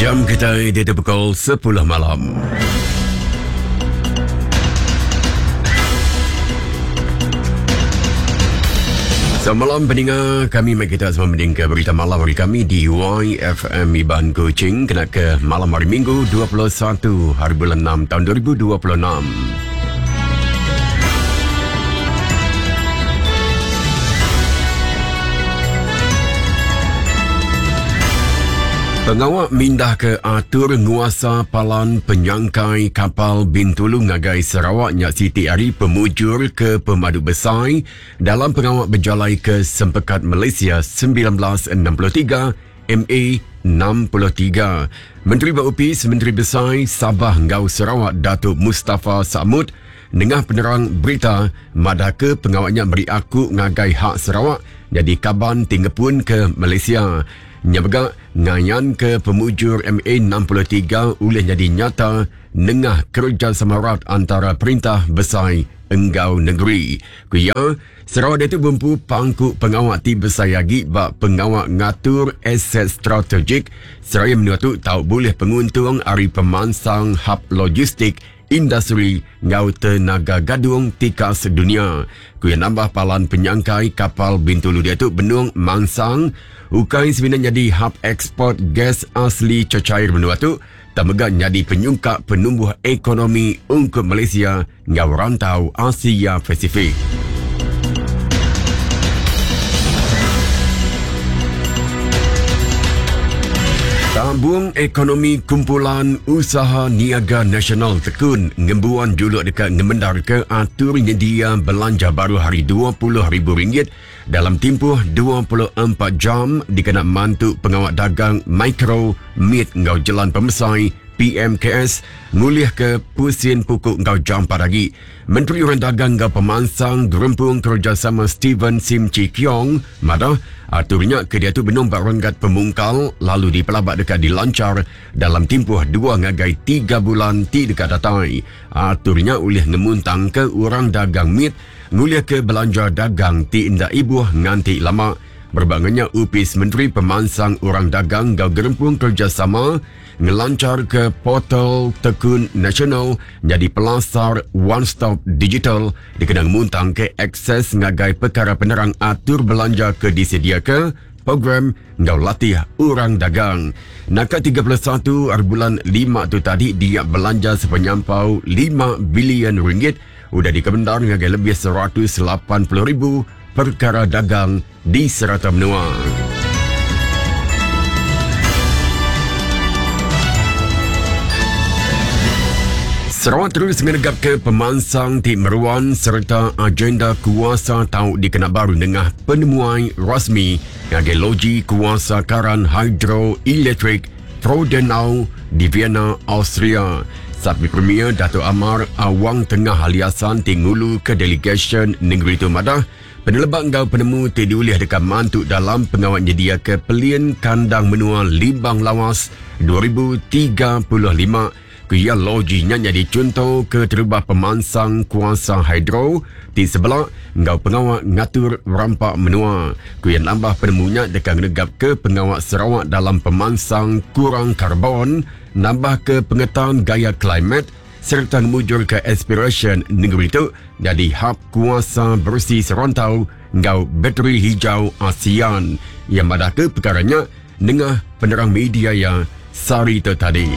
Jam kitai diatu pukul 10 malam. Selamat malam peninga kami mai kita semua mending ke berita malam hari kami di YFM Iban Kuching kena ke malam hari Minggu 21 hari bulan 6 tahun 2026. Pengawa mindah ke atur nguasa palan penyangkai kapal Bintulu ngagai Sarawak nya siti ari pemujur ke pemadu besai dalam pengawa bejalai ke Sempekat Malaysia 1963 MA 63. Menteri ba Opis Menteri Besai Sabah enggau Sarawak Datuk Mustapha Sakmud nengah penerang berita madahka pengawa nya meri aku ngagai hak Sarawak nyadi kaban ti ngepunka Malaysia. Nya mega ngayanka pemujur MA 63 ulih nyadi nyata nengah kerejasama rat antara perintah besai enggau nengeri. Ku iya, Sarawak diatu bempu pangku pengawa ti besai agi ba pengawa ngatur aset strategik seraya menua tu tau bulih penguntung ari pemansang hab logistik, industri enggau tenaga gadung tikas dunya. Ku iya nambah palan penyangkai kapal Bintulu diatu benung mansang ukai semina nyadi hab eksport gas asli cecair menua tu tang mega nyadi penyungkak penumbuh ekonomi ungkup Malaysia enggau rantau Asia Pasifik. Tabung Ekonomi Kumpulan Usaha Niaga Nasional Tekun ngembuan juluk deka ngemendarka atur nyedia belanja baru hari RM20,000 dalam timpuh 24 jam dikena mantu pengawa dagang mikro, mit enggau jelan pemesai PMKS ngulihka pusin puku enggau jampat agi. Menteri Orang Dagang enggau Pemansang Gerempung Kerejasama Steven Sim Chee Keong madah, atur nya ke diatu benung ba renggat pemungkal lalu dipelaba deka dilanchar dalam timpuh dua ngagai tiga bulan ti deka datai. Atur nya ulih ngemuntangka orang dagang mit ngulihka belanja dagang ti enda ibuh nganti lama. Berebak enggau nya, Opis Menteri Pemansang Orang Dagang enggau Gerempung Kerejasama ngelancharka portal Tekun Nasional nyadi pelasar one stop digital dikena ngemuntangka akses ngagai pekara penerang atur belanja ke disediaka program enggau latih orang dagang. Naka 31 hari bulan lima tu tadi dia belanja sepenyampau lima bilion ringgit udah dikemendar ngagai lebih 180,000 perkara dagang di serata menua. Sarawak terus ngenegapka pemansang ti meruan sereta agenda kuasa tau dikena baru nengah penemuai rasmi ngagai Loji Kuasa Karan Hidroelektrik Frodenau di Vienna, Austria. Sapi Premier Datuk Amar Awang Tengah Ali Hasan ti nguluka delegasyen nengeri tu madah, Peneleba enggau penemu ti diulih deka mantu dalam pengawa nyediaka Pelin Kandang Menua Limbang Lawas 2035, ku iya loji nya nyadi chunto keterubah pemansang kuasa hidro ti sebela enggau pengawa ngatur rampa menua. Ku iya nambah penemu nya deka ngenegapka pengawa Sarawak dalam pemansang kurang karbon, nambahka pengetan gaya klimet, sereta ngemujurka aspirasyen nengeri tu nyadi hab kuasa beresi serantau enggau bateri hijau ASEAN. Iya madahka pekara nya nengah penerang media iya sehari tu tadi.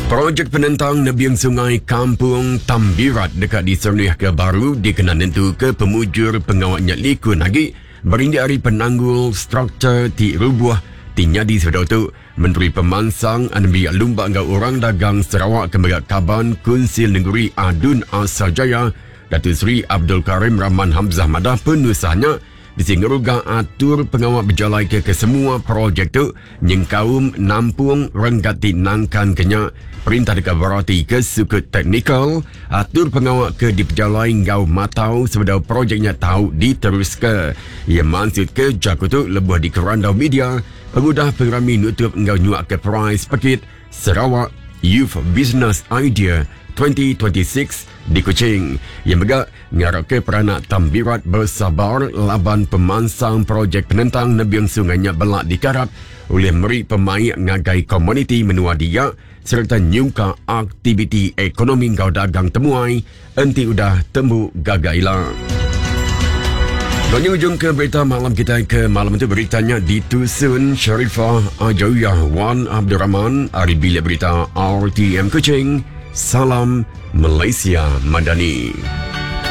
Projek penentang nebing sungai Kampung Tambirat deka diserenihka baru dikena nentuka pemujur pengawa nya likun agi Berindik ari penanggul struktur ti rubuh ti nyadi sebedau tu, Menteri Pemansang Anembiak Lumba enggau Orang Dagang Sarawak ke mega Kaban Kunsil Nengeri ADUN Asajaya, Datuk Seri Abdul Karim Rahman Hamzah madah penusah nya bisi ngeruga atur pengawa bejalaika kesemua projek tu nyengkaum nampung renggat ti nangkanka nya. Perintah deka beratika sukut teknikal atur pengawa ke dipejalai enggau matau sebedau projek nya tau diteruska. Iya mansutka jaku tu lebuh dikerandau media pengudah pengerami nutup enggau nyuaka perais pekit Sarawak Youth Business Idea. 2026 di Kuching. Iya mega ngarapka peranak Tambirat besabar laban pemansang projek penentang nebing sungai nya bela dikarap ulih meri pemaik ngagai komuniti menua dia sereta nyungka aktiviti ekonomi enggau dagang temuai enti udah tembu gaga ila. Lalu ujung ke berita malam kita ke malam itu beritanya ditusun Sharifah Ajawiyah Wan Abdul Rahman ari Bilik Berita RTM Kuching. Salam Malaysia Madani.